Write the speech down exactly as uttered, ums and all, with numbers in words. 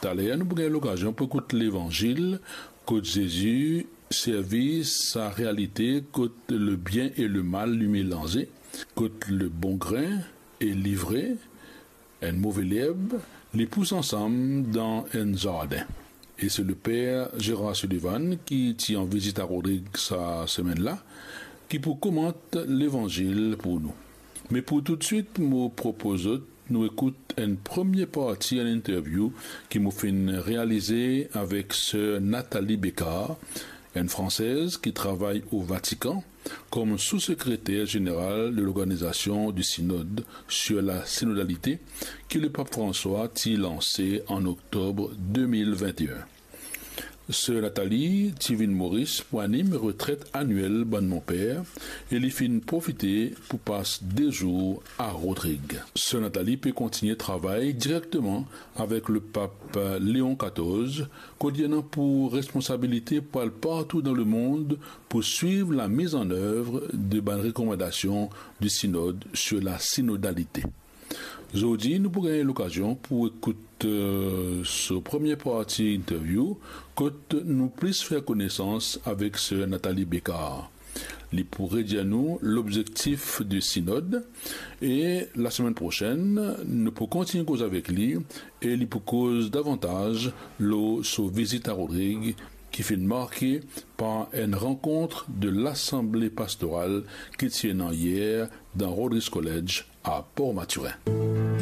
Taler nou pou gagn lokazion pou ekout Levanzil, kot Zezi servi sa realite kot lebien e lemal li melanze, kot lebon grin e livre, enn move lerb, li pous ansam dan enn zardin. E se Leper Gérard Sullivan ki ti an vizit a Rodrig sa semenn la, ki pou komant Levanzil pou nou. Me pou toutswit, mo propoz zot nou ekout enn premie parti enn interview ki mo finn realize avek Sir Nathalie Bécard, enn Fransez ki travay o Vatikan kom sou-sekreter zeneral de l'Organisation du Synode sur la synodalité ki Lepap Franswa ti lanse an oktob de mil vinte-enn. Sir Nathalie ti vinn Moris pou anim retret aniel bann monper e li finn profite pou pas de zour a Rodrig. Sir Nathalie pe kontigne travay direkteman avek Lepap Leon katorz, kot li ena pou responsabilite pou al partou dan lemond pou swiv lamiz an ev de bann rekomandasion di Sinod sur la synodalité. Zordi, nou pou gagn lokazion pou ekout, eh, so premie parti interview, kot nou plis fer konesans avek Sir Nathalie Bécard. Li pou redir nou lobzektif de Sinod e lasemenn prosenn, nou pou kontign koz avek li e li pou koz davantaz lor so vizit a Rodrig ki finn marke par enn rankont de Lasanble Pastoral ki ti ena yer dan Rodrigues College a Port Mathurin.